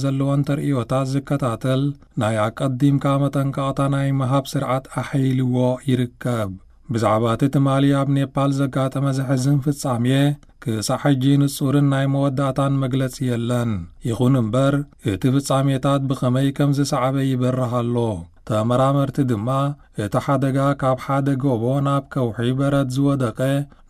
ዘለዎን ተርእዮታት ዝከታተል ናይ ኣቀዲምካ መጠንቀቕታ ናይ ምሃብ ስርዓት ኣሐይልዎ ይርከብ። ብዛዕባ እቲ ትማሊ ኣብ ኔፓል ዘጋጠመ ዘሕዝን ፍጻሜ ክሳዕ ሕጂ ንጹርን ናይ መወዳእታን መግለጺ የለን። ይኹን እምበር፣ እቲ ፍጻሜታት ብኸመይ ከም ዝሰዓበ ይበርህ ኣሎ። ተመራመርቲ ድማ፣ እቲ ሓደጋ ካብ ሓደ ጎቦ ናብ ከውሒ በረድ ዝወደቀ፣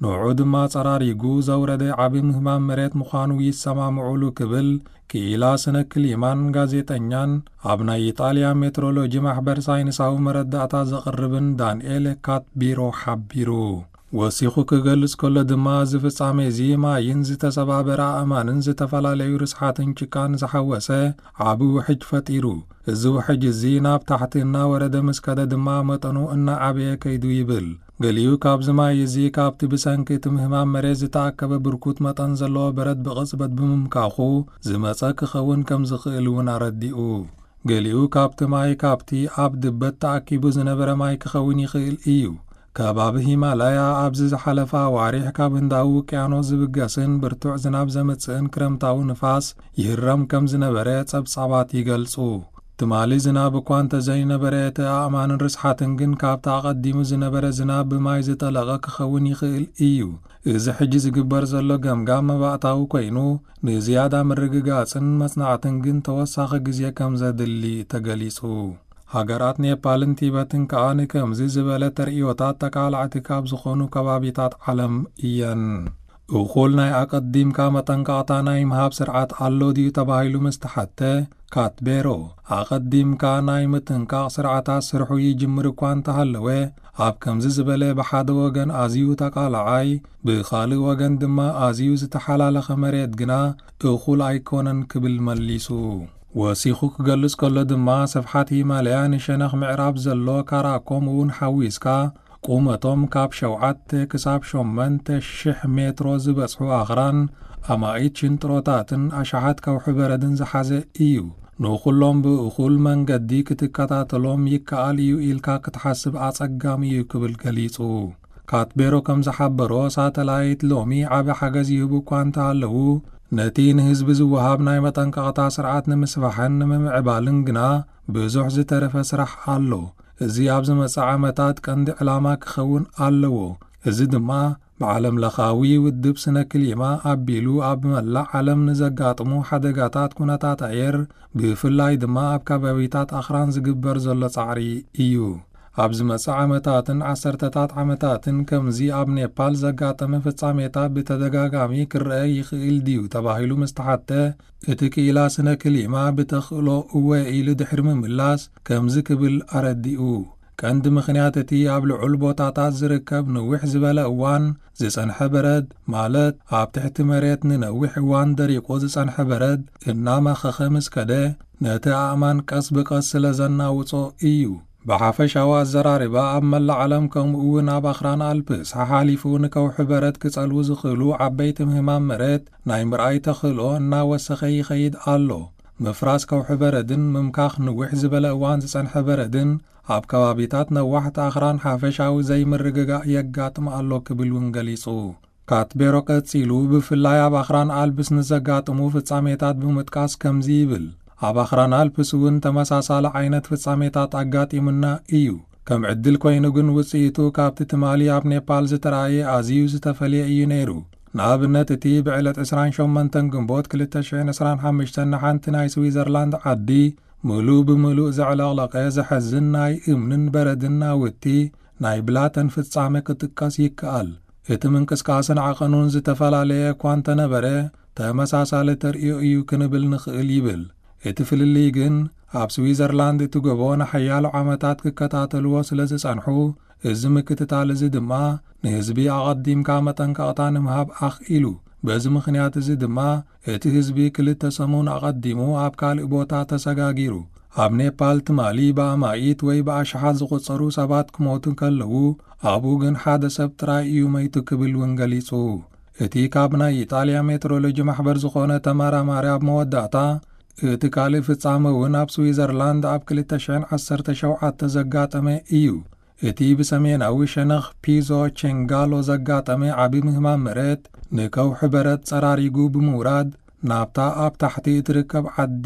ንዕኡ ድማ ጸራሪጉ ዘውረደ ዓቢ ምህማም መሬት ምዃኑ ይሰማምዑሉ ክብል ክኢላ ስነ ክሊማን ጋዜጠኛን ኣብ ናይ ኢጣልያ ሜትሮሎጂ ማሕበር ሳይንሳዊ መረዳእታ ዘቕርብን ዳንኤል ካትቢሮ ሓቢሩ። ወሲኹ ክገልጽ ከሎ ድማ፣ እዚ ፍጻሜ እዚ ማይን ዝተሰባበረ ኣእማንን ዝተፈላለዩ ርስሓትን ጭቃን ዝሓወሰ ዓቢ ውሕጅ ፈጢሩ። እዚ ውሕጅ እዚ ናብ ታሕቲ እናወረደ ምስ ከደ ድማ መጠኑ እናዓበየ ከይዱ ይብል። ገሊኡ ካብዚ ማይ እዚ ካብቲ ብሰንኪ እቲ ምህማም መሬት ዝተኣከበ ብርኩት መጠን ዘለዎ በረድ ብቕጽበት ብምምካኹ ዝመጸ ክኸውን ከም ዝኽእል እውን ኣረዲኡ። ገሊኡ ካብቲ ማይ ካብቲ ኣብ ድበት ተኣኪቡ ዝነበረ ማይ ክኸውን ይኽእል እዩ። ከባቢ ሂማላያ ኣብዚ ዝሓለፈ ኣዋርሕ ካብ ህንዳዊ ውቅያኖስ ዝብገስን ብርቱዕ ዝናብ ዘምጽእን ክረምታዊ ንፋስ ይህረም ከም ዝነበረ ጸብጻባት ይገልጹ። ትማሊ ዝናብ እኳ እንተዘይነበረ፣ እቲ ኣእማንን ርስሓትን ግን ካብቲ ኣቐዲሙ ዝነበረ ዝናብ ብማይ ዝጠለቐ ክኸውን ይኽእል እዩ። እዚ ሕጂ ዝግበር ዘሎ ገምጋም መባእታዊ ኮይኑ፣ ንዝያዳ ምርግጋጽን መጽናዕትን ግን ተወሳኺ ግዜ ከም ዘድሊ ተገሊጹ። ሃገራት ኔፓልን ቲበትን ከኣ ንከምዚ ዝበለ ተርእዮታት ተቃላዕቲ ካብ ዝኾኑ ከባቢታት ዓለም እየን። እኹል ናይ ኣቐዲምካ መጠንቀቕታ ናይ ምሃብ ስርዓት ኣሎ ድዩ ተባሂሉ ምስ ተሓተ፣ ካትቤሮ፣ ኣቐዲምካ ናይ ምጥንቃቕ ስርዓታት ስርሑ ይጅምር እኳ እንተሃለወ፣ ኣብ ከምዚ ዝበለ ብሓደ ወገን ኣዝዩ ተቃላዓይ፣ ብኻልእ ወገን ድማ ኣዝዩ ዝተሓላለኸ መሬት ግና እኹል ኣይኮነን ክብል መሊሱ። ወሲኹ ክገልጽ ከሎ ድማ፣ ስፍሓት ሂማለያ ንሸነኽ ምዕራብ ዘሎ ካራኮም እውን ሓዊስካ፣ ቁመቶም ካብ ሸውዓተ ክሳብ ሸሞንተ ሽሕ ሜትሮ ዝበጽሑ ኣኽራን፣ ኣማኢት ሽንጥሮታትን ኣሽሓት ከውሒ በረድን ዝሓዘ እዩ። ንኹሎም ብእኹል መንገዲ ክትከታተሎም ይከኣል እዩ ኢልካ ክትሓስብ ኣጸጋሚ እዩ ክብል ገሊጹ። ካትቤሮ ከም ዝሓበሮ፣ ሳተላይት ሎሚ ዓቢ ሓገዝ ይህቡ እኳ እንተሃለዉ፣ ነቲ ንህዝቢ ዝወሃብ ናይ መጠንቀቕታ ስርዓት ንምስፋሕን ንምምዕባልን ግና ብዙሕ ዝተረፈ ስራሕ ኣሎ። እዚ ኣብ ዝመጽእ ዓመታት ቀንዲ ዕላማ ክኸውን ኣለዎ። እዚ ድማ ብዓለም ለኻዊ ውድብ ስነ ክሊማ ኣቢሉ ኣብ መላእ ዓለም ንዘጋጥሙ ሓደጋታት ኩነታት ኣየር፣ ብፍላይ ድማ ኣብ ከባቢታት ኣኽራን ዝግበር ዘሎ ጻዕሪ እዩ። ኣብ ዝመጽእ ዓመታትን ዓሰርተታት ዓመታትን ከምዚ ኣብ ኔፓል ዘጋጠመ ፍጻሜታት ብተደጋጋሚ ክረአ ይኽእል ድዩ ተባሂሉ ምስ ተሓተ፣ እቲ ክኢላ ስነ ክሊማ ብተኽእሎ እወ ኢሉ ድሕሪ ምምላስ ከምዚ ክብል ኣረዲኡ። ቀንዲ ምኽንያት እቲ ኣብ ልዑል ቦታታት ዝርከብ ንዊሕ ዝበለ እዋን ዝጸንሐ በረድ፣ ማለት ኣብ ትሕቲ መሬት ንነዊሕ እዋን ደሪቑ ዝጸንሐ በረድ እናመኸኸ ምስ ከደ፣ ነቲ ኣእማን ቀስ ብቐስ ስለ ዘናውጾ እዩ። ብሓፈሻዊ ኣዘራርባ፣ ኣብ መላእ ዓለም ከምኡ እውን ኣብ ኣኽራን ኣልፕስ ሓሓሊፉ ንከውሒ በረድ ክጸልዉ ዝኽእሉ ዓበይቲ ምህማም መሬት ናይ ምርኣይ ተኽእሎ እናወሰኸ ይኸይድ ኣሎ። ምፍራስ ከውሒ በረድን ምምካኽ ንዊሕ ዝበለ እዋን ዝጸንሐ በረድን ኣብ ከባቢታት ነዋሕቲ ኣኽራን ሓፈሻዊ ዘይምርግጋእ የጋጥም ኣሎ ክብል እውን ገሊጹ። ካትቤሮ ቀጺሉ፣ ብፍላይ ኣብ ኣኽራን ኣልፕስ ንዘጋጥሙ ፍጻሜታት ብምጥቃስ ከምዚ ይብል፣ ኣብ ኣኽራን ኣልፕስ እውን ተመሳሳሊ ዓይነት ፍጻሜታት ኣጋጢሙና እዩ። ከም ዕድል ኮይኑ ግን ውጽኢቱ ካብቲ ትማሊ ኣብ ኔፓል ዝተራእየ ኣዝዩ ዝተፈልየ እዩ ነይሩ። ንኣብነት፣ እቲ ብዕለት ዕስራን ሸሞንተን ግንቦት ክልተ ሽሕን ዕስራን ሓሙሽተን ንሓንቲ ናይ ስዊዘርላንድ ዓዲ ምሉእ ብምሉእ ዘዕለቕለቐ ዘሐዝን ናይ እምንን በረድን ናውቲ ናይ ብላተን ፍጻመ ክጥቀስ ይከኣል። እቲ ምንቅስቃስን ዓቐኑን ዝተፈላለየ እኳ እንተነበረ፣ ተመሳሳሊ ተርእዮ እዩ ክንብል ንኽእል ይብል። እቲ ፍልልይ ግን፣ ኣብ ስዊዘርላንድ እቲ ጎቦ ንሓያሎ ዓመታት ክከታተልዎ ስለ ዝጸንሑ፣ እዚ ምክትታል እዚ ድማ ንህዝቢ ኣቐዲምካ መጠንቀቕታ ንምሃብ ኣኽኢሉ። በዚ ምኽንያት እዚ ድማ፣ እቲ ህዝቢ ክልተ ሰሙን ኣቐዲሙ ኣብ ካልእ ቦታ ተሰጋጊሩ። ኣብ ኔፓል ትማሊ ብኣማኢት ወይ ብኣሽሓት ዝቑጸሩ ሰባት ክሞቱ ከለዉ፣ ኣብኡ ግን ሓደ ሰብ ጥራይ እዩ መይቱ ክብል እውን ገሊጹ። እቲ ካብ ናይ ኢጣልያ ሜትሮሎጂ ማሕበር ዝኾነ ተመራማሪ ኣብ መወዳእታ፣ እቲ ካልእ ፍጻመ እውን ኣብ ስዊዘርላንድ ኣብ ክልተ ሽሕን ዓሰርተ ሸውዓተ ዘጋጠመ እዩ። እቲ ብሰሜናዊ ሸነኽ ፒዞ ቼንጋሎ ዘጋጠመ ዓቢ ምህማም መሬት፣ ንከውሒ በረድ ጸራሪጉ ብምውራድ፣ ናብታ ኣብ ታሕቲ እትርከብ ዓዲ